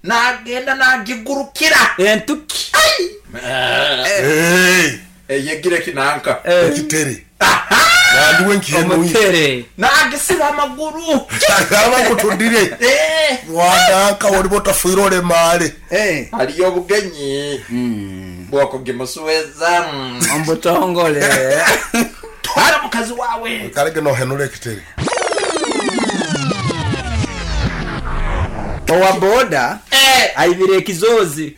Nagenda nagigurukira. Entuki. Hey! Eyegire kinanka. Ekitere. Nandi we nkihenuire. Omutere. Nagisiba amaguru. Agamba ngu tudire. Mwananka oliba otafiire olemaale. Haliyo obugenyi bwokugimusueza. Omubutongole. Twara mukazi wawe. Kalege nohenura ekitere. Owa boda aibire ekizozi.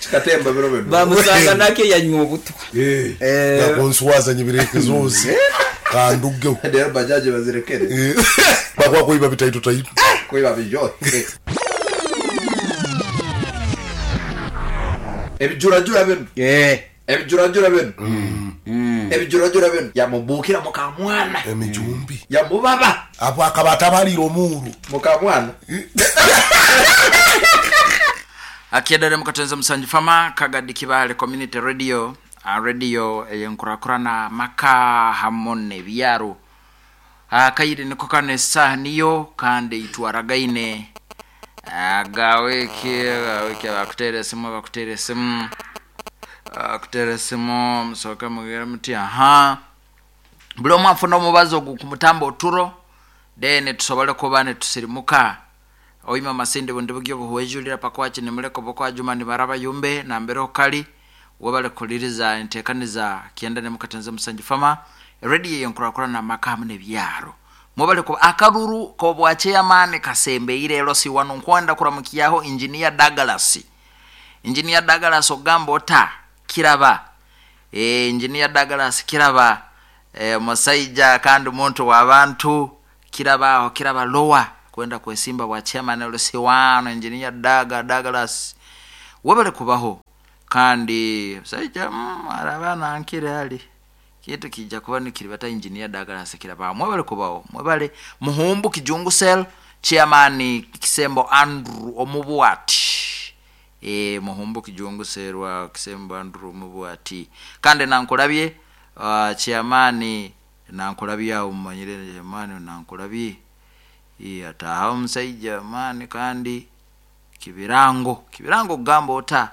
Kikatemba biro bino. Bamusanga nakyo yanywa obutwa. Nakunswaza nyibire ekizozi. Kandugeho. Rero bajaji bazirekere. Bakwa kuiba bitaito taito. Kuiba bijote. Ebijurajura bino. Ebijurajura bino. Ebijurajura bino. Yamubukira mukamwana. Emijumbi. Yamubaba Abo akaba atabalira omuuru. mukamwana. Akiadare mukatenza musanju fama kagadi kibale community radio, radio eyenkurakurana maka hamwe nebyaro. Kaire niko kano esaha niyo kandi itwaragaine. Gawiki gawiki bakutere esimu bakutere esimu bakutere esimu musoke mugire muti aha buli omu afuna omubazi ogu kumutamba oturo then tusobole kuba nitusirimuka. Oima masindi bundi bugyo buhwejulira pakwaki nimuleko bokwajuma nibaraba yumbe nambere okali webale kuliriza entekaniza kienda nemukatenza musanju fama radio yenkurakurana maka hamwe nebyaro. Mwebale kuba akaruru kobwa chairman kasembeire ero si wano nkwenda kuramukiyaho engineer Douglas. Engineer Douglas ogamba ota kiraba. Engineer Douglas kiraba. Musaija kandi muntu wa bantu kiraba aho kiraba lower kwenda kwesimba bwa chairman ero si wano engineer Douglas. Webale kubaho kandi musaija araba nankire ali kitu kijja kuba nikiribata engineer Douglas kiraba. Mwebale kubaho mwebale muhumbu kijungu cell chairman Kisembo Andrew omubwati. Muhumbu kijungu cell wa Kisembo Andrew omubwati kandi nankulabye chairman nankulabye awo mumanyire chairman nankulabye. Ataha omusajja mani kandi kibirango kibirango kugamba ota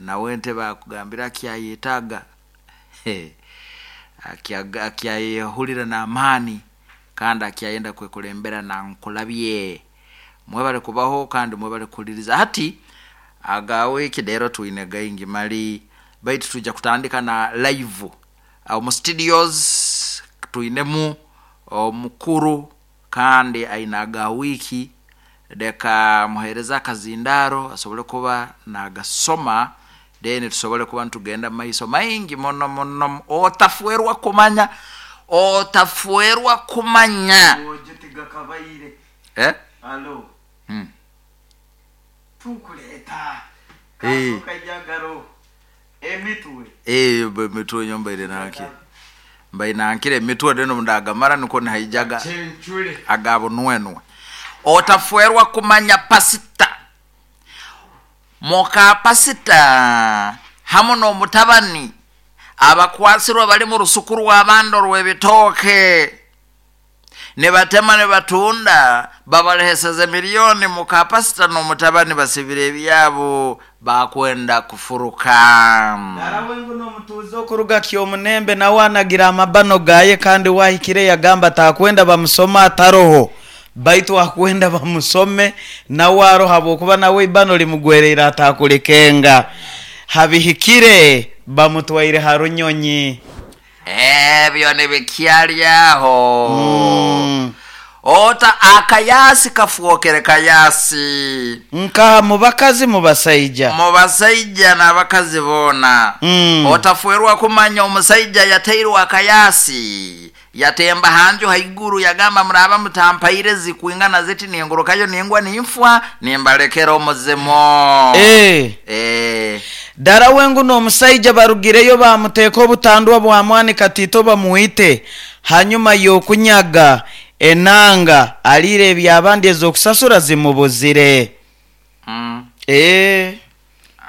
nawe ntebe akugambira akyayetaaga. Akyayehulira n'amaani kandi akyayenda kwekulembera nankulabye. Mwebale kubaho kandi mwebale kuhuliriza. Hati agawe rero twine gaingi mali baitu tujja kutandika na live mu studios twinemu omukuru kandi aina agawiki deka muhereza akazindaro asobole kuba nagasoma then tusobole kuba ntugenda maiso maingi mono mono. Otafuerwa kumanya otafuerwa kumanya. Alo. Tukuleta. Kajagaro. Emitwe. Emitwe nyomba ile nake. Mbai nankire emitwe deno ndagamara niko nihaijaga. Agabo nwenwe. Otafuerwa kumanya pasita. Moka pasita hamu n'omutabani abakwasirwa bali mu rusuku rw'abandi rw'ebitooke ne batema ne batunda babaleheseze miliyoni. Muka pasita n'omutabani basibire ebyabo bakwenda kufuruka. Darawe nguno omutuuze okuruga Kyomunembe nawe anagira amabano gaye kandi wahikire yagamba takwenda bamusoma ataroho baitu akwenda bamusome nawe aroho habwokuba nawe ibano limugwereire atakulikenga. Habihikire bamutwaire harunyonyi. Ebyo nibikyalyaho. Ota akayasi kafuokere kayasi. Nka mubakazi mubasaija. Mubasaija n'abakazi bona. Otafuerwa kumanya omusaija yateirwe akayasi. Yatemba hanju haiguru yagamba muraba mutampaire zikwingana ziti ningurukayo ningwa ninfwa nimbalekera omuzimo. Dara wengu n'omusaija barugireyo bamuteeka obutandwa bwa mwani katito bamuite hanyuma y'okunyaga enanga alire ebyabandi ez'okusasura zimubuzire.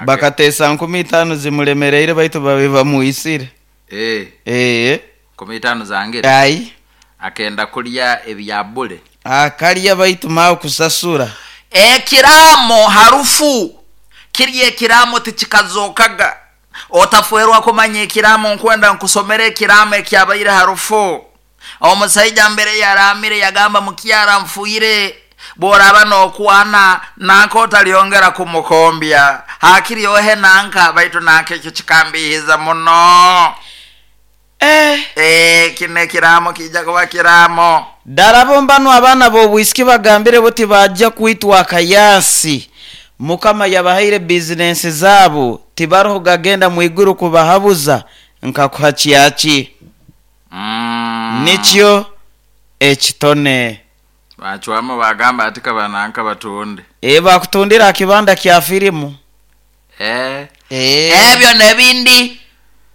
Bakateesa 15 zimulemereire baitu babe bamuisire. 15 zange. Ai. Akenda kulya ebyabule. Akalya baitu mawe kusasura. Ekiramo harufu kiri ekiramo tikikazokaga. Otafuerwa kumanya ekiramo, nkwenda nkusomere ekiramo ekyabaire harufu. Omusaija mbere yaramire yagamba mukyara nfuire, bworaba nokwana nanka otalyongera kumukombya, hakiri ohe nanka, baitu nanka ekyo kikambihiza muno. Kino ekiramo kijja kuba kiramo. Ddala bo mbano abaana b'obwisiki bagambire buti bajja kwitwa akayasi. Mukama yabahaire bizinensi zaabo, tibaroho gagenda mwiguru kubahabuza nkakuha kyaki. Nikyo ekitone. Bacwamu bagamba ati kabananka batunde. Bakutundira akibanda kya firimu. Ebyo nebindi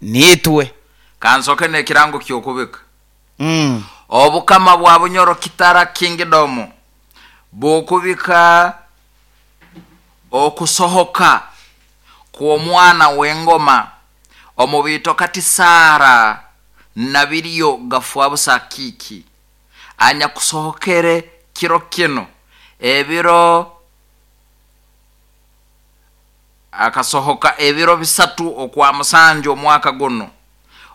nitwe. Kansoke nekirango kyokubika. Obukama bwa Bunyoro Kitara Kingdom bukubika okusohoka kw'omwana w'engoma omubito kati Sara Nabiryo Gafwabusa Kiki anya kusohokere kiro kino ebiro akasohoka ebiro 3 okwa musanju omwaka guno.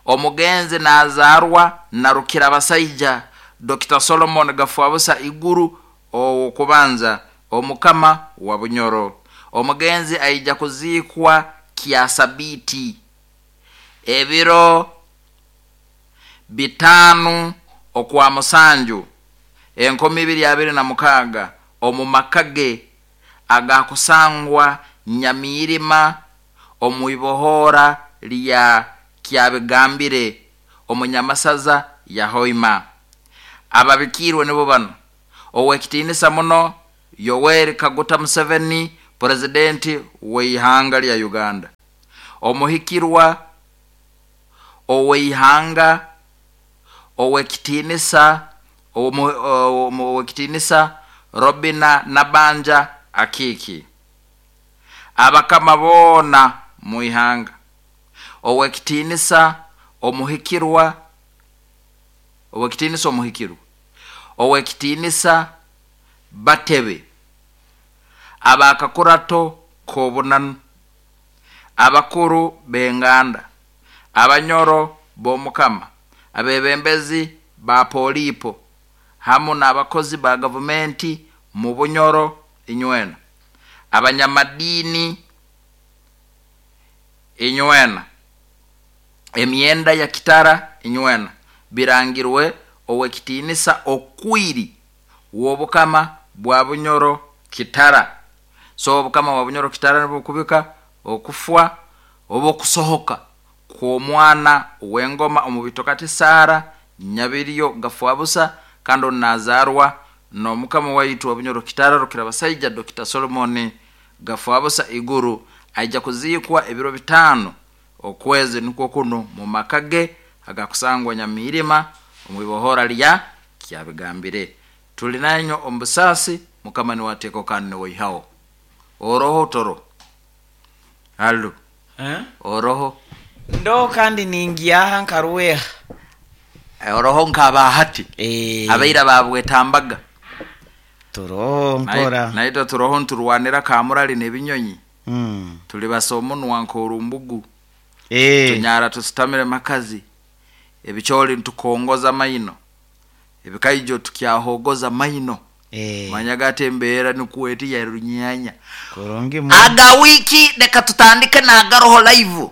Omugenzi nazarwa na Rukira Basaija Dr. Solomon Gafwabusa Iguru owokubanza omukama wa Bunyoro. Omugenzi aija kuzikwa kiasabiti ebiro 5 okwa musanju 2026 omu makage agakusangwa Nyamirima omuibohora lya Kyabigambire omunyamasaza ya Hoima. Ababikirwe nibo bano: owekitinisa muno Yoweri Kaguta Museveni, presidenti w'eihanga lya Uganda, omuhikirwa oweihanga owekitinisa owekitinisa Robina Nabanja Akiki, abakama bona muihanga, owekitinisa omuhikirwa owekitinisa omuhikirwa owekitinisa Batebe, abakakurato kobunanu, abakuru benganda, abanyoro bomukama, abebembezi ba polipo hamu n'abakozi ba gavumenti mu Bunyoro inywena, abanyamadini inywena, emyenda ya Kitara inywena, birangirwe owekitinisa okwiri w'obukama bwa Bunyoro Kitara. So obukama bwa Bunyoro Kitara nibukubika okufwa oba okusohoka kw'omwana w'engoma omubito kati Sara Nyabiryo Gafwabusa, kandi onazarwa n'omukama waitu wa Bunyoro Kitara Rukira Basaija Dr. Solomon Gafwabusa Iguru, aija kuzikwa ebiro 5 okwezi nikwo kuno mu makage agakusangwa Nyamirima omwibohora lya Kyabigambire. Tuli nanyo ombusasi mukama ni wateko kanne waihao oroho toro halo oroho ndo kandi ningiaha nkaruweha oroho nkabahati abaira babwetambaga turoho mpora naito turoho nturwanira kamurali nebinyonyi tuli basomunwa nkorumbugu tunyara tusitamire makazi ebicholi ntukongoza maino ebikaijo tukyahogoza maino manyaga embeera nikuweti ya runyanya aga wiki leka tutandike nagaroho live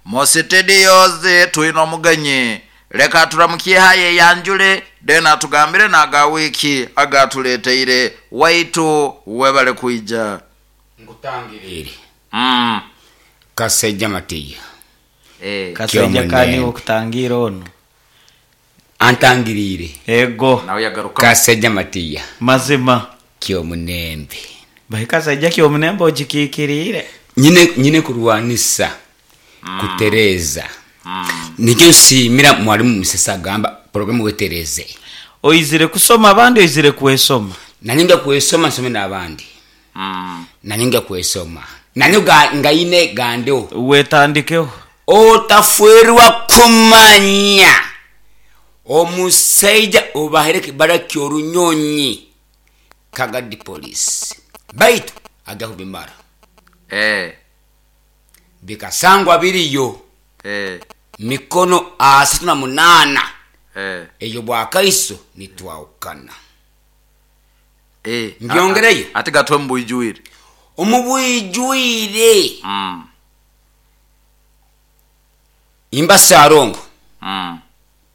mositediyoze twina omuganye leka turamukie haye yanjule dena tugambire naga wiki agatuleteire waitu webale kuija ngutangirire Kaseja Matiya Kaseja kani okutangira ono antangirire ego nawe yagaruka Kaseja Matiya mazima kyomunembe bai Kaseja kyomunembe ogikikirire nyine kurwanisa kutereza nikyo nsiimira mwalimu Musesa agamba programu wetereze oizire kusoma abandi oizire kwesoma nanye nja kwesoma nsome n'abandi nanye nja kwesoma nanye ngaine gandeho wetandikeho otafuerwa kumanya omusaija obahere kibara kyorunyonyi Kagadi police baitu ajja kubimara. Bikasangwa biriyo mikono 38. Eyo bwakaiso nitwawukana. Mbyongereyo. Ate gatwe mubwijwire. Omubwijwire. Imba sarongo.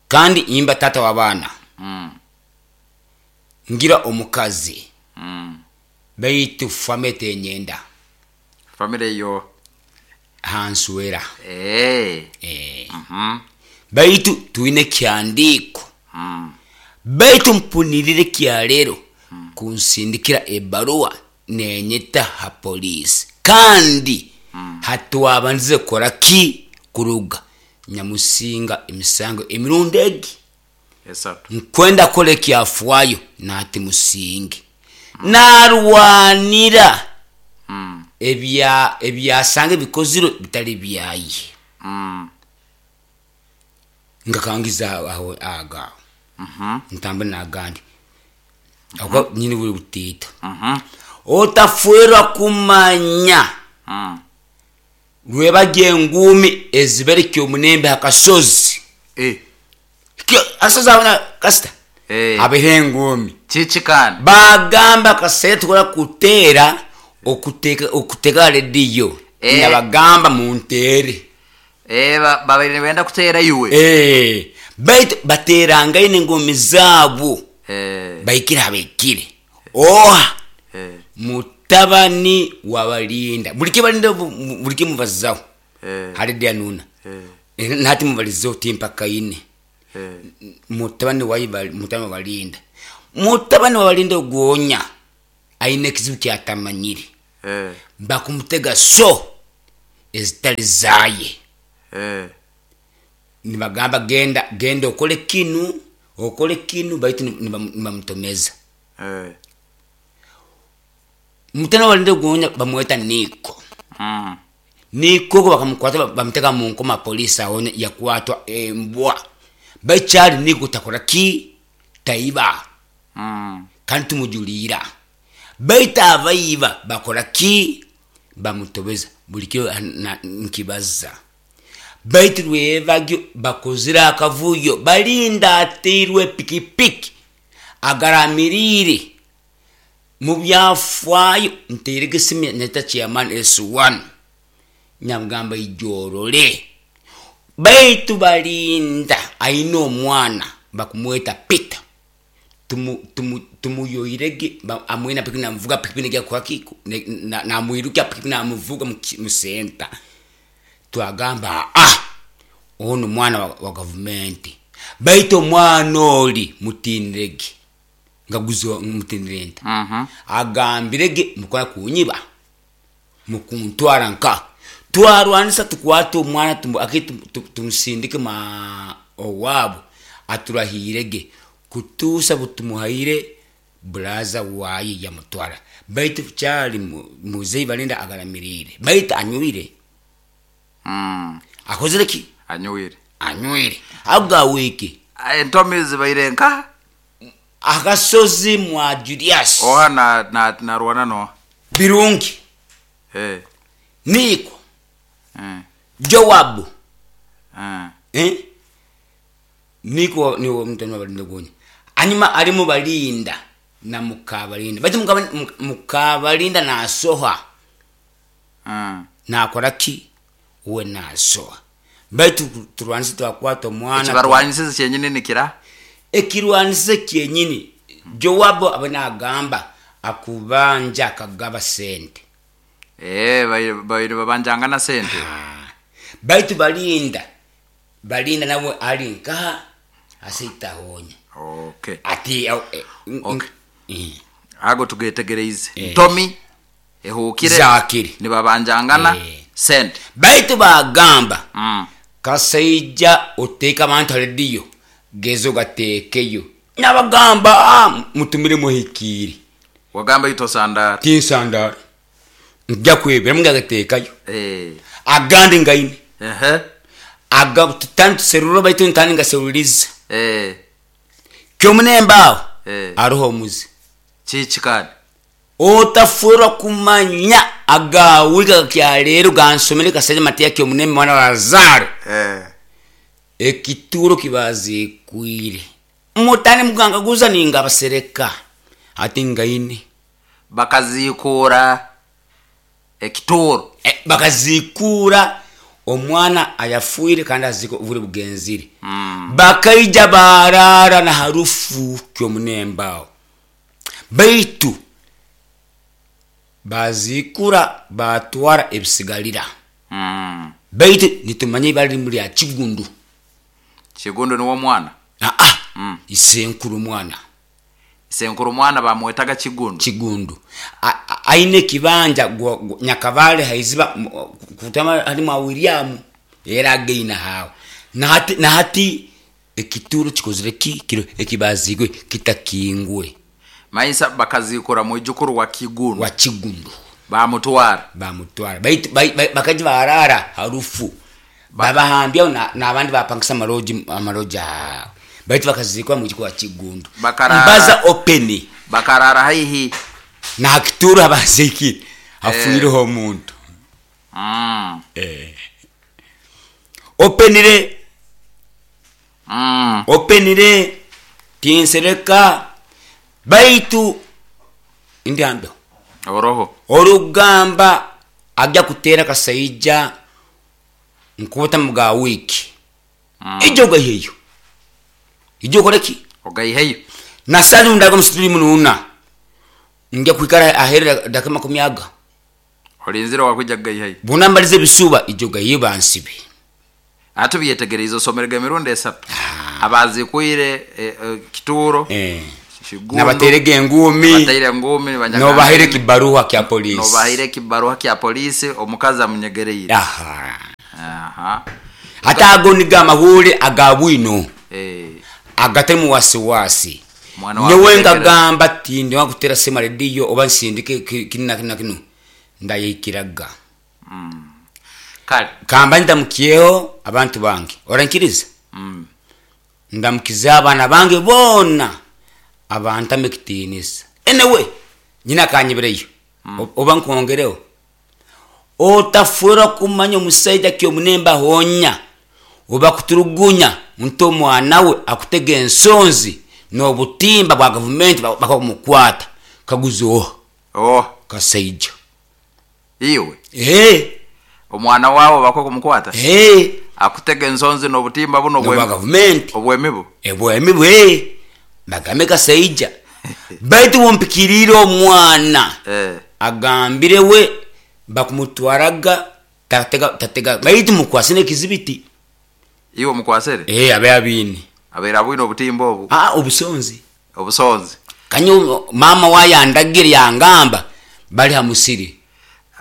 Kandi imba tata w'abaana. Ngira omukazi. Baitu famire tenyenda. Famire yo hanswera. Baitu twine kyandiiko. Baitu mpunirire kyalero kunsindikira ebaruwa nenyeta ha polisi kandi hatwabandize kukora ki kuruga nyamusinga emisango emirundi egi esatu nkwenda kora ekyafwayo nati musinge narwanira ebyasanga ebikozirwe bitali byaye. Ngakangiza aho agaho ntambwe nagandi ako nyini buli butiita. Otafwerwa kumanya lwebajja enguumi eziberekya omunembe akasozi. Asozi abona kasita abeho enguumi kiki kandi bagamba kaseera tukola kuteera okuteka rediyo. Nabagamba munteere. Babaire nibenda kuteera iwe. Baitu bateerangaine enguumi zaabo. Baikire abaikire oha mutabani wabalinda buli kibalinda buli kimubazaho hali dyanuna nati mubalizeho timpakaine. Mutabani mutabani wabalinda mutabani wabalinda ogonya aine ekizibu kyatamanyire. Bakumutega so ezitali zaye. Nibagamba genda genda okole kinu baitu nibamutomeza. Mutana walinde gonya bamweta Niko. Niko bakamukwata bamutega mu nkoma polisi aone yakwatwa embwa. Baichali Niko takora ki taiba. Kandi tumujulira. Baita abaiba bakora ki bamutobeza buli kyo nkibaza. Baitu lwebagyo bakozira akavuyo balinda ateirwe pikipiki agaramirire mu byafaayo nteerege simu neta chairman S1 nyamugamba ijorole. Baitu balinda aine omwana bakumweta Peter tumuyoirege amwena pikipiki namuvuga pikipiki negya kwaki namwiruka pikipiki namuvuga mu center. Twagamba ono mwana wa gavumenti baitu omwana oli mutinirege ngaguzo mutinirenta. Agambirege mukola kunyiba mukuntwara nka twarwanisa tukwata omwana tumusindike ma owabo aturahirege kutusa butumuhaire braza waye yamutwara. Baitu kyali muzeyi balinda agaramirire baitu anywire. Akozere ki anywire agawiki entomi zibaire nka akasozi mwa Julius oha na narwana no birungi. Niko Joabu Niko ni mutano balinda gonya anyuma alimu balinda na mukabalinda baitu mukabalinda na soha na akora ki uwe na soha baitu turwanise twakwata omwana ekibarwanise kyenyini nikira ekirwanise kyenyini. Joabu abana agamba akubanja akagaba sente. Baire babanjanga na sente. Baitu balinda nawe ali nka asitahonya. Okay. Ati okay. Ago tugetegereize. Ntomi ehukire zakiri nibabanjangana sente. Baitu bagamba kasaija oteka abantu rediyo gezo gatekeyo nabagamba mutumire muhikiri wagamba ito sandara tinsandara nja kwebera mungagatekayo agandi ngaine aga tutanu seruro baitu ntani ngaseruliza kyomunemba aho aroho omuzi Kiki kandi? Otafurwa kumanya agawika kyaleero gansomere kasaija matiya kyomuneme mwana wa Lazaro. Ekituro kibazikwire mutani mugangaguza ninga abasereka ati ngaine. Bakazikura ekituro. Bakazikura omwana ayafuire kandi aziko buri bugenzire. Bakaija barara na harufu kyomunembao, baitu bazikura batwara ebisigalira. Baitu nitumanye ibara limu lya Kigundu. Kigundu niwo mwana? Aa, isenkuru mwana. Isenkuru mwana bamwetaga Kigundu. Kigundu aine ekibanja Nyakabale haiziba kutama halimu William era ageina hawe nahati, nahati ekituro kikozire ki kiro ekibazigwe kitakingwe. Maisa bakazikura mwijukuru wa Kigundu. Wa Kigundu. Bamutwara. Bamutwara baitu bakaji barara harufu babahambya n'abandi bapangisa amaloji amaloji aho baitu bakazikwa mwijukuru wa Kigundu. Bakarara. Mbaza open. Bakarara haihi na kituro abazikire hafuireho omuntu. Openire. Openire tinsereka baitu ndiambe oroho orugamba ajja kutera kasaija nkuta mga wiki. Ijo gaheyo ijo koreki ogaiheyo nasali ndaga msitiri mununa nge kwikara ahera dakika 20 olinzira wakuja gaiheyo bunambalize bisuba ijo gayiba nsibe. Ate byetegereza osomerega emirundi esatu. Abazikwire kituro nabaterega engumi bateire engumi nobahere kibaruha kya polisi. Nobahere kibaruha kya polisi omukazi amunyegereire. Aha. Aha. Hata ago niga amahuri agabwino. Agatemu wasiwasi. Nyewe ngagamba tindi wakutera sema radio oba nsindike kinna kinna kinu ndayikiraga. Kale kamba ndamukyeho abantu bange orankiriza. Ndamukiza abana bange bona abantu amekitinisa. Anyway nyina kanyibireyo. Oba nkongereho otafura kumanya omusaija kyomunemba honya oba kuturugunya nto mwana we akutega ensonzi n'obutimba bwa gavumenti bakamukwata kaguzo kasaija iwe omwana wawe bakakumukwata akutega ensonzi n'obutimba buno bwa gavumenti obwemibu ebwemibu bagame kasaija baitu wompikirire omwana agambire we bakumutwaraga tatega baitu mukwasine ekizibiti iwe mukwasere abe abini abera bwino obutimba obu obusonzi obusonzi kanyo mama wayandagire yangamba bali hamusiri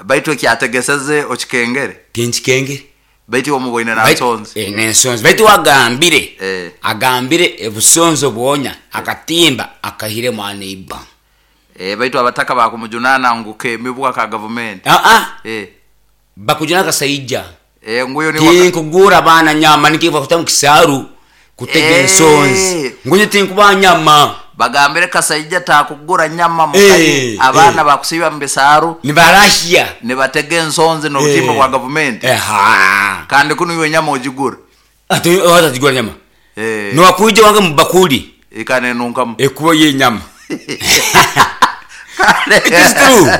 baitu ekyategeseze okikengere tinkikengere baitu omuboine na nsonzi nensonzi baitu wagambire agambire ebusonzi obwonya akatimba akahire mwana iba baitu abataka bakumujunana ngu kemibwa ka government bakujuna kasaija nguyo ni tinkugura bana nyama nikiva kutamu kisaru kutega ensonzi ngunye tinkuba nyama bagambire kasaija takugura nyama mukayi abana bakusiba mbisaru nibarahia nibatega ensonzi n'obutimba bwa government kandi kuno iwe nyama ojigura ati otajigura nyama niwakuija wange mubakuli ikane nunkamu ekuba ye nyama. It is true.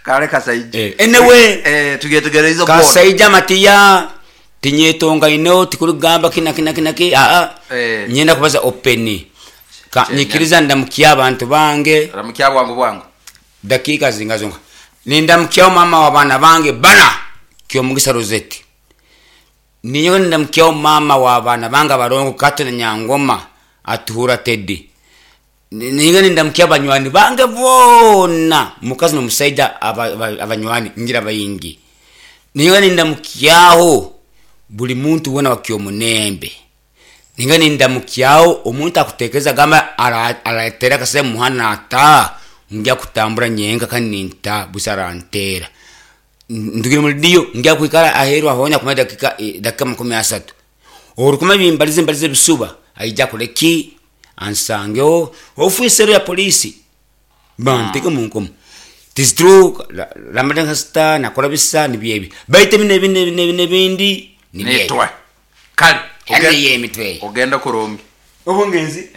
Kale kasaija anyway tugetegereza kasaija matiya tinyetonga ino tikurugamba kina kina kina ki nyenda kubaza open nyikiriza ndamukia abantu bange ndamukia bwangu bwangu dakika zingazonga nindamukia mama wa bana bange bana Kyomugisa Rosette ninyo ndamukia mama wa bana bange barongo Kato na Nyangoma atuhura Teddy ninyo ndamukia banywani bange bona mukazi no musaida abanywani ngira bayingi ninyo ndamukiaho buli muntu wona wakyomunembe ninga nindamukiaho omuntu akutekeza gamba aratera kase muhana ata ngiya kutambura nyenga kandi ninta busarantera ndugire muri dio ngiya kwikara aheru ahonya kuma dakika 30 orukuma bimbalize mbalize bisuba aija kuleki ansangeo ofisero ya polisi Banteke mu nkomo. Tis true ramadan nakora bisa nibyebi baitu bino ebindi nebindi Nitwe kale. Kandi yemitwe. Ogenda kurungi. Obungenzi.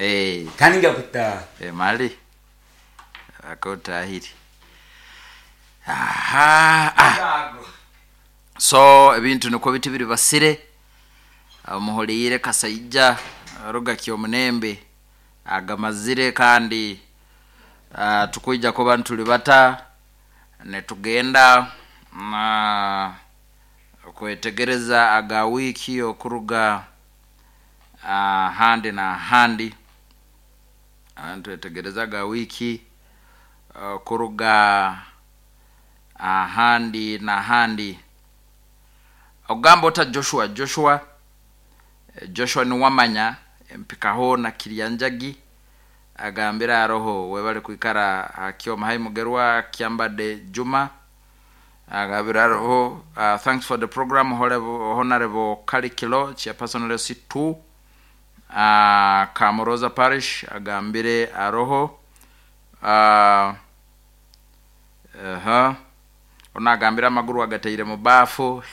Kandi ngakuta. Mali akotahiri aha ah. So ebintu nikwo biti biri basire omuhuliire kasaija ruga kyomunembe agamazire kandi tukwija kuba ntulibata netugenda kwetegereza aga wiki okuruga handi na handi. Twetegereza aga wiki okuruga handi na handi. Ogamba ota Joshua Joshua niwamanya empikaho na Kiryanjagi agambira aroho webale kwikara hakyoma hai mugerwa Kyambade Juma agambira aroho thanks for the program honorable Kalikilo chairperson LC2 Kamoroza Parish agambire aroho onagambira amaguru agateire mu bafu.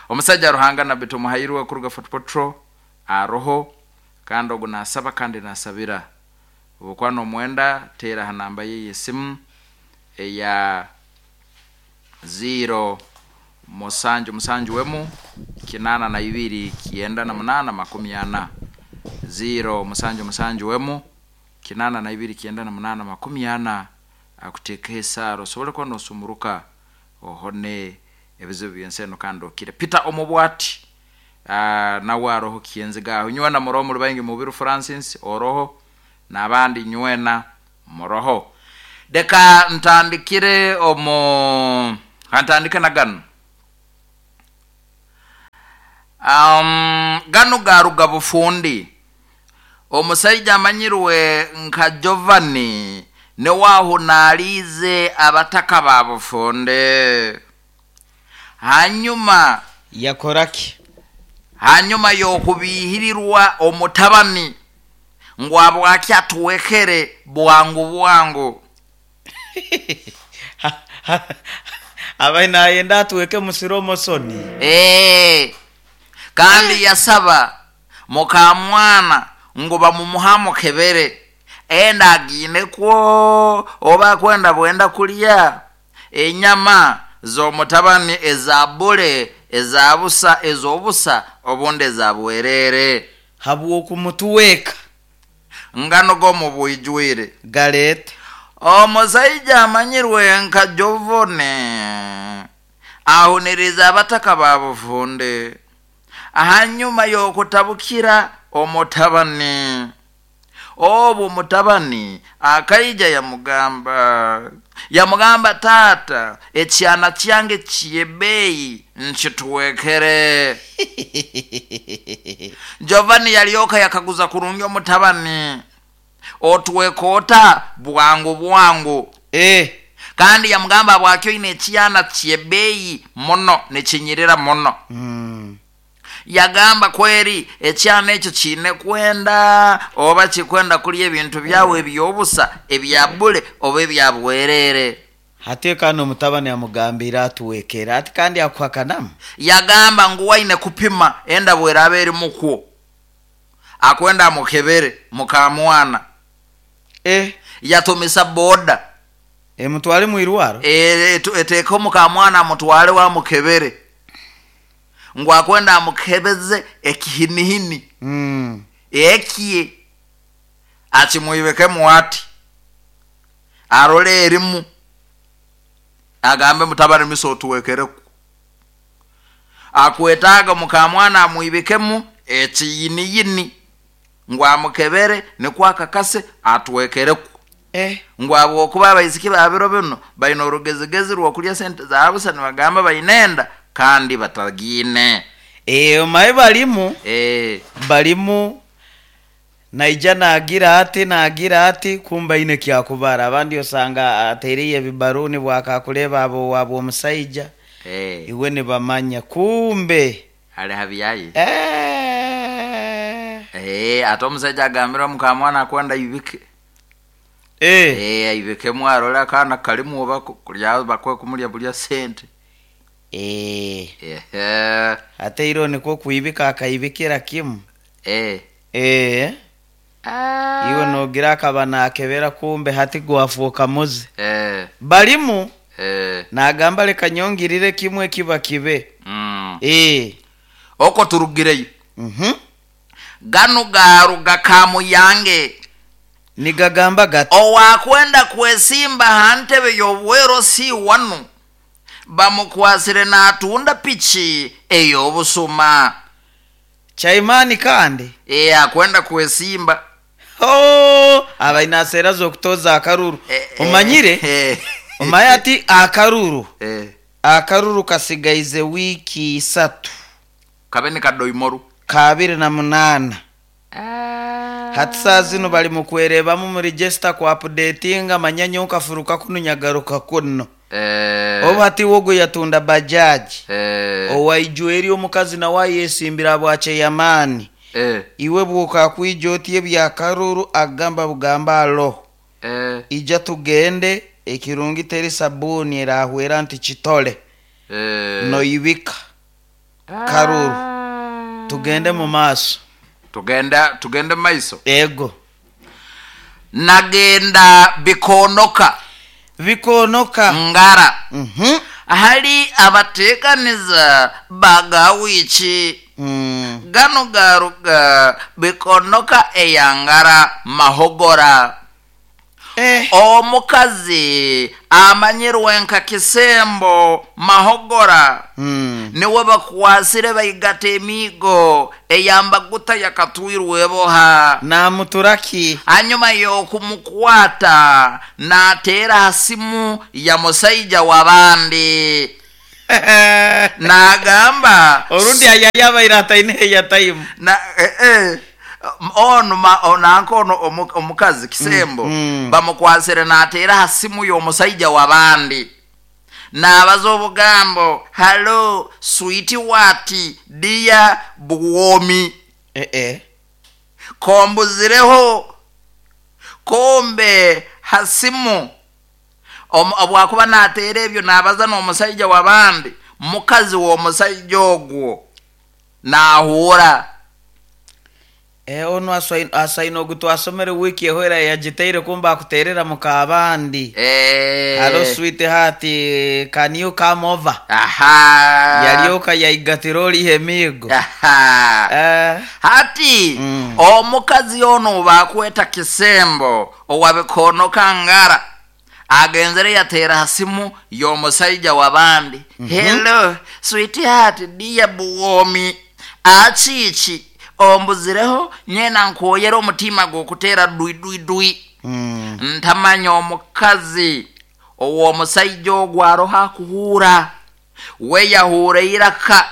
Omusajja Ruhanga na beto muhairwe kuruga Fort Potro aroho kandi ogu nasaba kandi nasabira obukwano omwenda tera hanamba ye yesimu eya 0 musanju musanju wemu 82 98 40 0 musanju musanju wemu 82 98 40 akuteeka esaro osobole kuba nosumuruka ohone ebizibu by'enseno kandi okire. Peter Omubwati nawe aroho kienzigaho nywena muroho muri baingi Mubiru Francis oroho n'abandi nywena muroho. Deka ntandikire omu ntandike na gano gano garuga bufundi. Omusajja amanyirwe nka Giovanni ne wahunalize abataka ba bufunde hanyuma yakoraki hanyuma yokubihirirwa omutabani ngo abwaki atuwekere bwangu bwangu. Abai nayenda atuweke musiro mosoni. Kandi yasaba mukamwana ngo bamumuha kebere enda agine kwo oba kwenda bwenda kulya enyama z'omutabani ezabule ezabusa ezobusa obunde ezabwerere habwo kumutuweka ngano go mu bwijwire galete. Omusajja amanyirwe nka Jovone ahuniriza abataka ba bufunde hanyuma yokutabukira omutabani. Obu mutabani akaija yamugamba tata ekyana kyange kyebeyi nkituwekere. Giovanni yalioka yakaguza kurungi omutabani otuwekota bwangu bwangu. Kandi yamugamba bwakyo ine ekyana kyebeyi muno nekinyirira muno. Yagamba kweri ekyana ekyo kine kwenda oba kikwenda kulya ebintu byawe ebyobusa ebyabule oba ebyabwerere. Hate kandi omutabani amugambira atuwekera ati kandi akuhakanamu. Yagamba ngu waine kupima enda bweraba eri mukwo akwenda amukebere mukamwana. Yatumisa boda emutwale mwirwaro eteko mukamwana amutwale wa mukebere ngo akwenda amukebeze ekihinihini. Ekiye akimuibeke ati arole erimu agambe mutabani miso otuwekereku akwetaaga mukamwana amuibekemu ekiyiniyini ngo amukebere nikwakakase atuwekereku. Ngo abo okuba abaisiki babiro bino balina orugezigezi rw'okulya sente zabusa nibagamba bainenda kandi batagine. Omaye balimu balimu naija nagira ati kumba ine kyakubara abandi osanga atereye bibaruni bwakakuleba abo wabo omusaija. Iwe ne bamanya kumbe ale habiyaye. Ate omusaija agambira mukamwana akwenda ibike. Eh. Eh, aibikemu arole akaana kalimu oba kulya bakwe kumulya bulya sente. Eh. Ehe. Ate iro nikwo kuibika akaibikira kimu. Eh. Eh. Iwe nogira akaba nakebera kumbe hati gwafuuka muze. Eh. Balimu Eh. nagamba leka nyongirire kimwe kiba kibe. Eh. Oko turugireyo. Mhm. Gano garuga kamuyange. Nigagamba gati. Owakwenda kwesimba ha ntebe y'obwero si wanu bamukwasire n'atunda piki ey'obusuma. Chaimani kandi. E, akwenda kwesimba. Oh, abaina sera z'okutoza akaruru. Omanyire? Omaye ati akaruru. Akaruru kasigaize wiki 3. Kabe ni kadoimoru. 28. Hati saa zino bali mu kwerebamu mu register ku updatinga manyanya okafuruka kuno nyagaruka kuno. Oba hati wogo yatunda bajaji. Owaijwe eri omukazi nawe ayesimbira bwache yamani. Iwe bwokakwija oti ebyakaruru agamba bugamba alo. Ija tugende ekirungi teri sabuni erahwera nti kitole. Noibika karuru. Tugende mu maaso. Tugende mu maiso. Ego. Nagenda bikonoka. Bikonoka. Ngara. Hali abateekaniza bagawiiki. Gano garuga bikonoka eyangara mahogora. Omukazi amanyirwe nka kisembo mahogora. Niwe bakwasire baigata emiigo eyambaguta yakatwirwe boha. Namuturaki. Hanyuma y'okumukwata n'ateera simu ya musaija w'abandi. N'agamba orundi ayayabaire ataine eyataimu. Na ono nanka ono omukazi kisembo bamukwasire n'ateera simu y'omusaija w'abandi. N'abaza obugambo hello sweet wati dear buwomi. Kombuzireho kombe hasimu. Obwakuba n'ateera ebyo n'abaza n'omusajja w'abandi mukazi w'omusajja ogwo n'ahuura. Ono asaina ogu twasomere wiki ehwera yagiteire kumba akuterera mukabandi. Hello sweetheart, can you come over? Aha. Yalyoka yaigatira oliho emiigo. Aha. Hati omukazi ono bakweta kisembo owabikonoka ngara agenzere yateera simu y'omusajja w'abandi. Hello sweetheart dear buwomi achichi ombuzireho nyena nkoyera omutima gw'okuteera dui dui dui. Ntamanya omukazi ow'omusajja ogwo aroho akuhuura we yahuura iraka.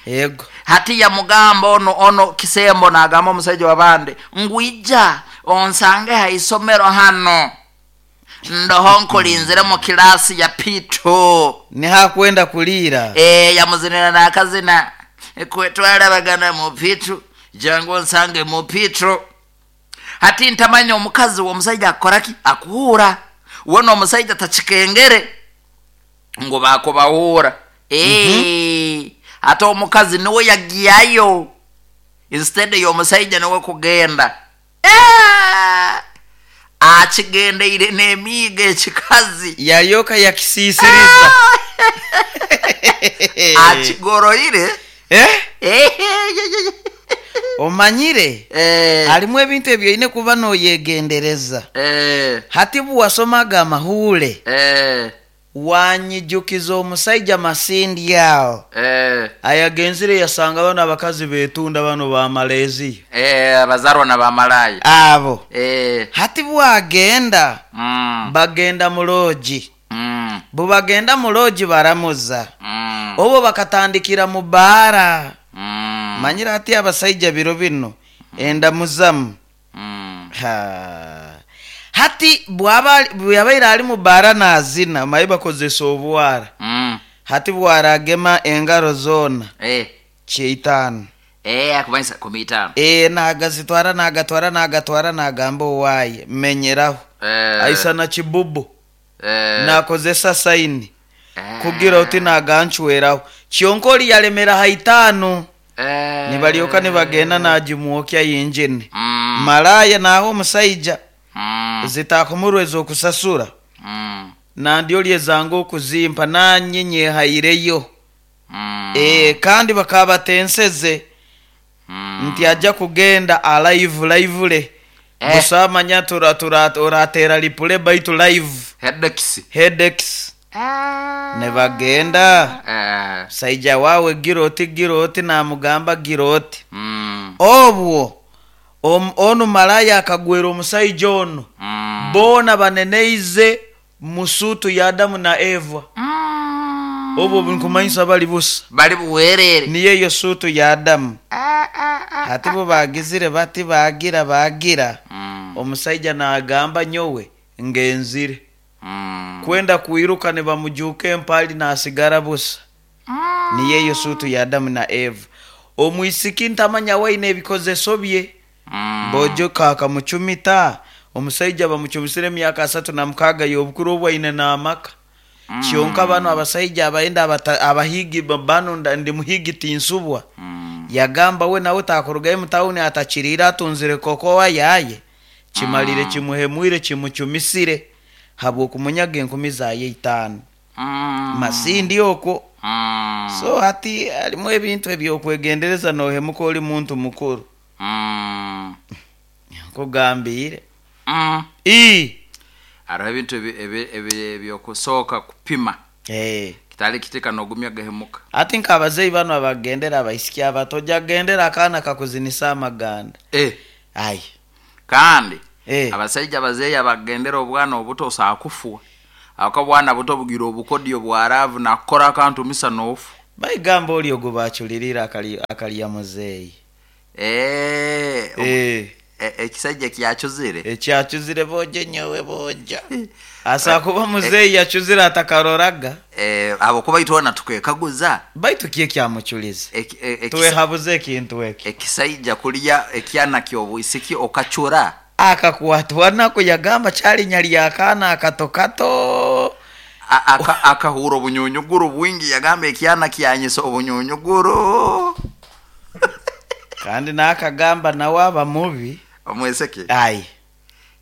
Yego. Hati yamugamba ono kisembo n'agamba omusajja w'abandi ngwija onsange ha isomero hano ndoho nkulinzire mu kilasi ya P2. Nihakwenda kulira. Yamuzinira n'akazina kwetwalabagana mu P2 jangu nsange mu P2. Hati ntamanya omukazi w'omusajja akoraki akuhuura wona omusajja takikengere ngo bakubahuura. Ate omukazi niwe yagiyayo instead y'omusajja niwe kugenda. Akigendeire n'emiigo ekikazi yalyoka yakisiisiriza. Akigoroire. Omanyire alimu ebintu ebyo oyine kuba noyegendereza. Hati bwasomaga amahule wanyijukiza omusajja masindi awo. Ayagenzire yasanga bano abakazi betunda bano ba Malaysia. Abazarwa na ba Malaya. Abo. Hati bwagenda bagenda mu lodge. Bubagenda mu lodge baramuza. Obo bakatandikira mu bara. Manyira ati abasajja biro bino enda muzamu. Hati bwabaire ali mu bara nazina maye bakozesa obwara. Hati bwaragema engaro zona. 5. Akumanisa 15. Nagazitwara nagatwara nagamba owaye menyeraho. Aisana kibubu nakozesa saini kugira oti nagancweraho kyonka oli yalemera haitaano nibalyoka nibagenda nagimwokya yinjini. Malaya naho omusaija zitakumurweza okusasura nandi oli ezanga okuzimpa nanye nyehaireyo. Kandi bakaba batenseze nti ajja kugenda alive lively. Busamanya turatera lipule baitu live headaches nebagenda saija wawe giroti namugamba giroti. Obwo onu malaya akagwera omusaija ono. Bona baneneize musutu ya Adamu na Eva. Obwo nkumanyisa bali busa bali buwerere niye yo sutu ya Adamu. Hati bo bagizire bati bagira omusaija nagamba nyowe ngenzire. Kwenda kuiruka ne bamujuka empali nasigara busa. Niye yo sutu ya Adamu na Eva. Omwisiki ntamanya waine ebikozeso bye. Bojo kakamuchumita omusaija bamuchumisire emyaka 36 y'obukuru obwaine n'amaka. Kyonka bano abasaija abaenda abahigi bano ndi muhigi tinsubwa. Yagamba we nawe takurugayo mutawuni atakirira atunzire kokowa yaye. Kimalire kimuhemwire kimuchumisire habwo kumunyaga enkumi zaye 5. Masindi okwo. So hati alimu ebintu ebyokwegendereza nohemuka oli muntu mukuru. Nkugambire. Hariho ebintu ebyokusooka kupima. Kitali kitika nogumya gahemuka. Ati nkabazeyi bano abagendera abaisiki abato jagendera akaana kakuzinisa amaganda. Ai. Kandi abasaija bazeyi abagendera obwana obuto osakufwa. Ako bwana buto bugira obukodyo bwaravu nakora akantu misa nofu. Bayigamba oli ogwo baculirira akali ya muzeyi. Ekisajja kyachuzire. Ekyachuzire boje nyowe boja. Asa kuba muzeyi yachuzire atakaroraga. Abo kuba itwana tukekaguza. Baitu kiye kyamuchuliza. Tuwehabuze ekintu eki. Ekisajja kulya ekyana ky'obwisiki okachura. Akakwatwa nako yagamba kyali nyali yakana akatokato. Akahura obunyunyuguru bwingi yagamba ekyana kyanyisa obunyunyuguru. Kandi nakagamba nawe aba mubi. Omweseke. Ai.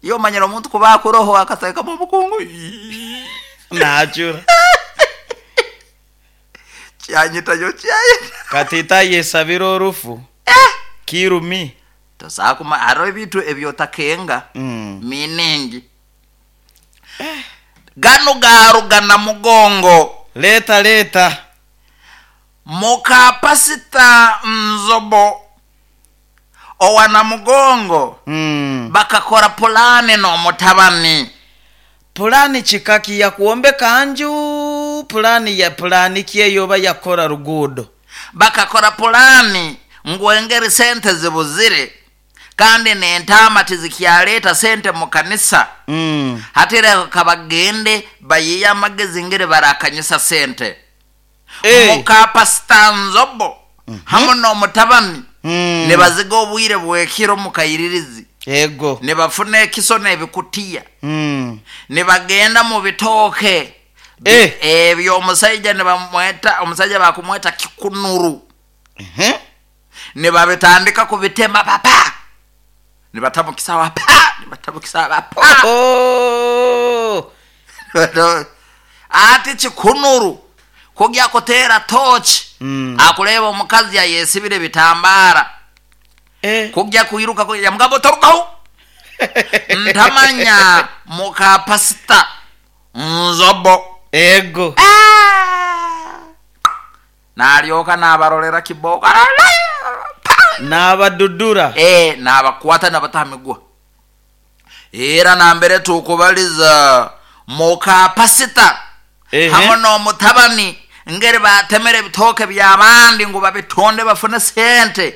Iyo manyira omuntu kuba akuroho akateka mu bukungu. Nachura. Kyanyita yo kyanyita. Katita yesabira orufu. Kirumi. Tosakuma haro ebintu ebyotakenga. Miningi. Gano garugana mugongo. Leta. Mukapasita nzobo. Owana mugongo. Bakakora pulani no mutabani. Pulani chikaki ya kuombeka anju. Pulani ya pulani kiyeyoba yakora rugudo. Bakakora pulani ngwengeri sente zibuzire. Kandi nentama tizikyaleta sente mu kanisa. Hatire kabagende bayiya amagezi ngere barakanyisa sente. Mukapasita nzobo. Hamu no mutabani. Nebaziga obwire bwekiro mu kayiririzi. Ego. Nebafuna ekiso n'ebikutiya. Nebagenda mu bitooke. Ebyo omusajja nebamweta, omusajja bakumweta kikunuru. Nebabitandika kubitema papa. Nebatamukisa pa, nebatamukisa pa. Oh. Ati kikunuru kujya kutera torch. Akuleba omukazi yayesibire bitambara. Kujya kuiruka kujya mugabo torukaho. Ntamanya mukapasita nzobo. Ego. Nalyoka nabarolera kiboko. Nabadudura. Nabakwata nabatamigwa. Era nambere tukubaliza mukapasita. Hamwe n'omutabani ngeri batemere ebitooke by'abandi ngu babitonde bafune sente.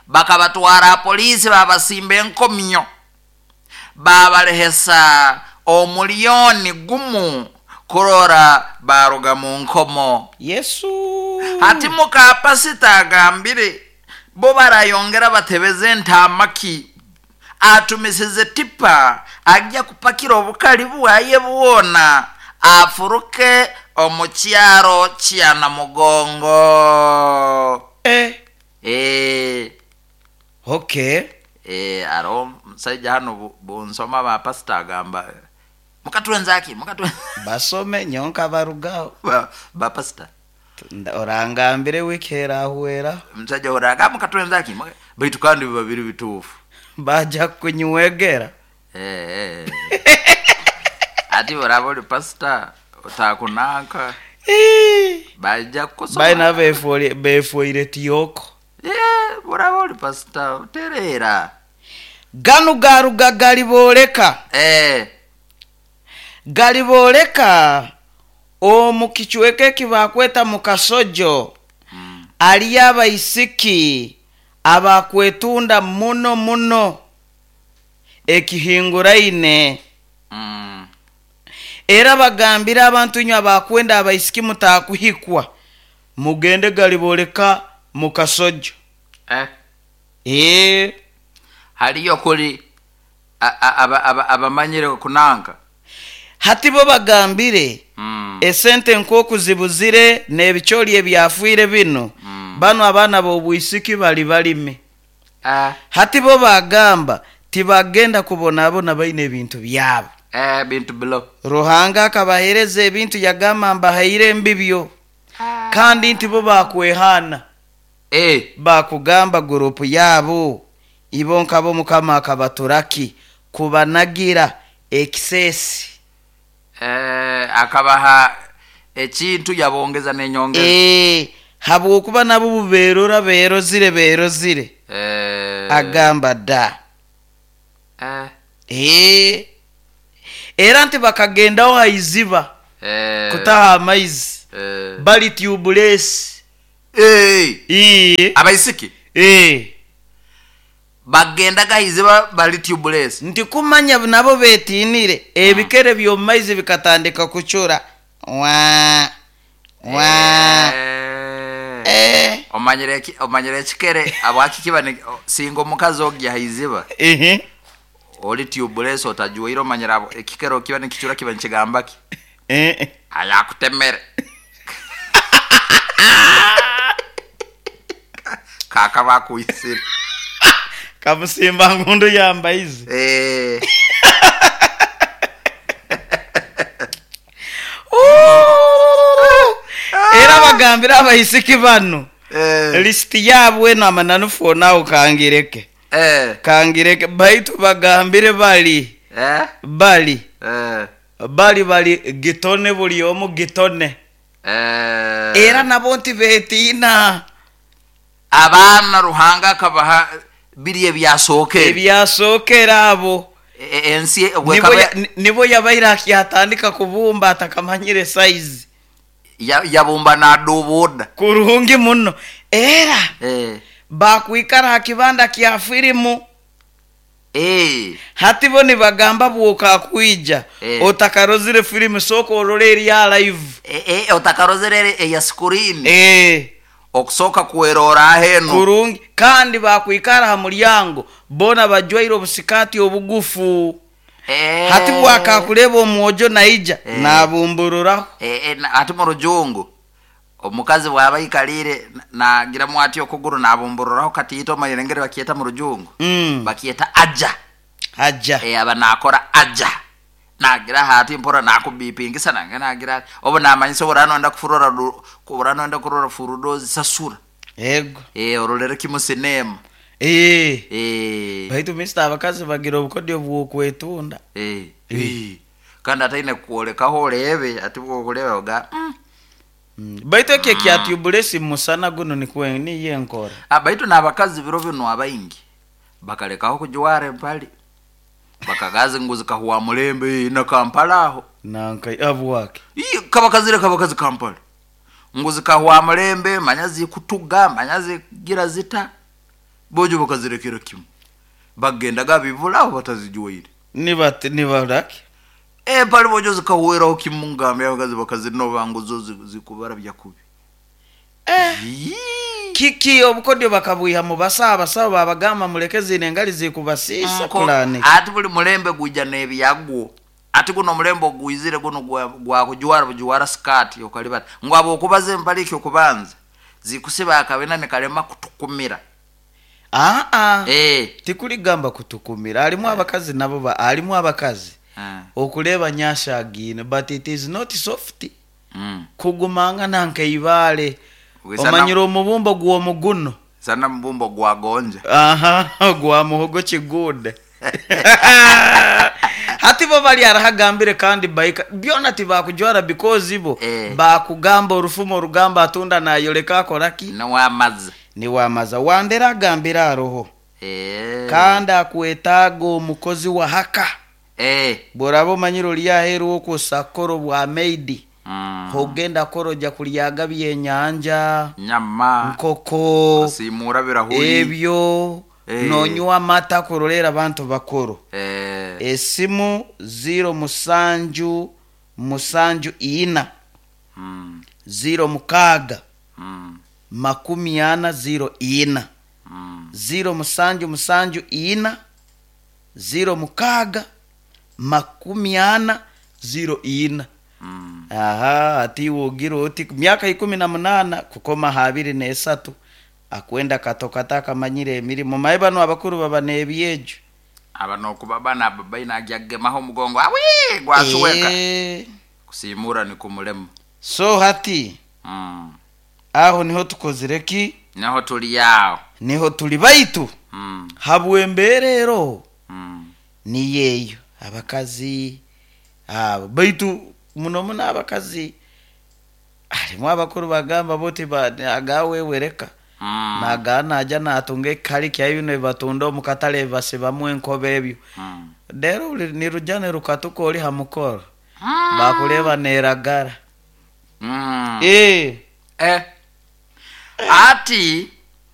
Bakabatwara polisi babasimba enkomyo. Babalehesa omuliyoni gumu kurora baruga mu nkomo. Yesu. Hati mukapasita agambire bo barayongera batebeze entamaki. Atumisize tipa ajja kupakira obukali bwaye bwona afuruke omu kyaro kya Namugongo. Eh, okay. Aro musajja hano bunsoma ba pastor agamba mukatwenzaki mukatwe Basome nyonka barugaho. Ba pastor. Orangambire wiki erahwera. Musajja oraga mukatwenzaki baitu kandi biba biri bituufu. Baja kunywegera. Ati oraba oli pastor otakunanka bajja kukusoma. Baina befoire tiyoko. Oraba oli pastor otereera. Ganu garuga galiboleka. Galiboleka omu kichweka ekibakweta mu kasojo. Aliyo abaisiki abakwetunda muno muno ekihinguraine. Era bagambira abantu inywe abakwenda abaisiki mutakuhikwa mugende galiboleka mu kasojo. Haliyo kuli abamanyire kunanka. Hati bo bagambire esente nkoku zibuzire n'ebicholi ebyafuire bino. Bano abaana b'obwisiki bali balime. Hati bo bagamba tibagenda kubonabona baine ebintu byabo. Bintu bilo. Ruhanga akabahereza ebintu yagamba mbahaire mbibyo. Kandi nti bo bakwehana. Bakugamba gurupu yabo ibo nkabo Mukama akabaturaki kubanagira ekisesi. Akabaha ekintu yabongeza nenyongeza. Habwokuba nabo buberora berozire berozire. Agamba da. Era nti bakagendaho haiziba. Kutaha amaizi. Bali tubulesi. Abaisiki? Bagendaga haiziba bali tubulesi. Nti kumanya nabo betinire ebikere by'omaizi bikatandika kuchura. Wa wa. Omanyire ekikere abwaki kiba singa omukazi ogya haiziba. Oli tubulesi otajuwaire omanyira ekikere kiba nikichura kiba nikigamba ki? Ayakutemere. Kaka bakuisire. Kamusimba ngundu yambaizi. Era bagambira abaisiki bano. Lisiti yabwe n'amananu fona kangireke. Kangireke baitu bagambire bali. Bali. Bali bali gitone buli omu gitone. Era nabo nti betina. Abaana Ruhanga akabaha biri ebyasokera. Ebyasokera abo. Ensi nibo yabaira akiyatandika kubumba atakamanyire size. Yabumba nadubuda. Kurungi muno. Era bakwikara hakibanda kya filimu. Hati bo nibagamba bwoka kuija. Otakarozire filimu soko orore eri ya live. Otakarozire eya screen. Okusoka kuerora heno. Kurungi kandi bakwikara ha mulyango bona bajwaire obusikati obugufu. Hati bwaka kuleba omwojo naija nabumbururaho. Ati mu rujungu omukazi bwaba ikalire nagira mwati okuguru nabumbururaho kati yito mayirengere bakieta mu rujungu. Bakieta aja. Aja. Aba nakora aja. Nagira hati mpora nakubipingisa nange nagira obo namanyisa orano nda kufurora kurano nda kurora furudozi sasura. Yego. Orolere kimu sinema. Baitu Mr. abakazi bagira obukodyo bw'okwetunda. Kandi ataine kuolekaho orebe ati bwokuleba oga. Baitu ekyo kya tubulesi musana guno nikwe niye nkora. Baitu n'abakazi biro bino abaingi bakalekaho kujwara empali. Bakagazi nguzi kahuwa mulembe na Kampala aho. Nanka abwake. Kabakazire kabakazi Kampala. Nguzi kahuwa mulembe manyazi kutuga manyazi gira zita. Bojo bakazirekera kimu. Bagendaga bivulaho batazijuwaire. Nibaraki. Pali bojo zikahuweraho kimu ngambe abakazi bakazinova nguzo zikubara byakubi. Kiki obukodyo bakabwiha mu basawo, abasawo babagamba muleke zino engali zikubasiisa. Kulani? Ati buli mulembe gwija n'ebyagwo. Ati guno omulembe ogwizire guno gwakujwara bujuwara sikati okalibata ngu abo okubaza empale ekyokubanza zikusiba akabina nikalema kutukumira. Aa, Eh. tikuligamba kutukumira, halimu abakazi nabo halimu abakazi okuleba nyashagine, but it is not soft. Kugumanga nankeibaale. Omanyire omubumbo gw'omuguno. Sana mubumbo gwagonja. Aha, gwa muhogo kigude. Hati bo bali arahagambire kandi baika byona tibakujwara because bo Eh. bakugamba orufumo orugamba atunda nayoleka akoraki. Niwamaza. Niwamaza wandera agambire aroho. Eh. Kandi akwetaaga omukozi wa haka. Bworaba omanyire oli aheeru okwosakoro bwa maidi, ogenda koroja kulyaga byenyanja, nyama, nkoko, simura birahuri. Ebyo. Eh. Nonywa amata kurolera abantu bakuru. Esimu 07 74 06 40 04. 07 74 06 40 04. Aha, ati wogira oti myaka 18 kukoma 23, akwenda katokata akamanyire emirimu maye. Bano abakuru baba n'ebyejo. Aba nokuba bana aba baina agyagemaho omugongo awi gwasuweka. Kusimura ni kumulema. So hati aho niho tukozire ki? Niho tuli aho. Niho tuli baitu habwembeerero niyeeyo abakazi abo baitu muno muno abakazi harimu abakuru bagamba boti agawewereka naga naja natunga ekikali kyayo bino bibatunda omu katale basibamu enkobe ebyo. Rero niruja nirukatuka ori ha mukoro bakureba neragara. Eh. Ati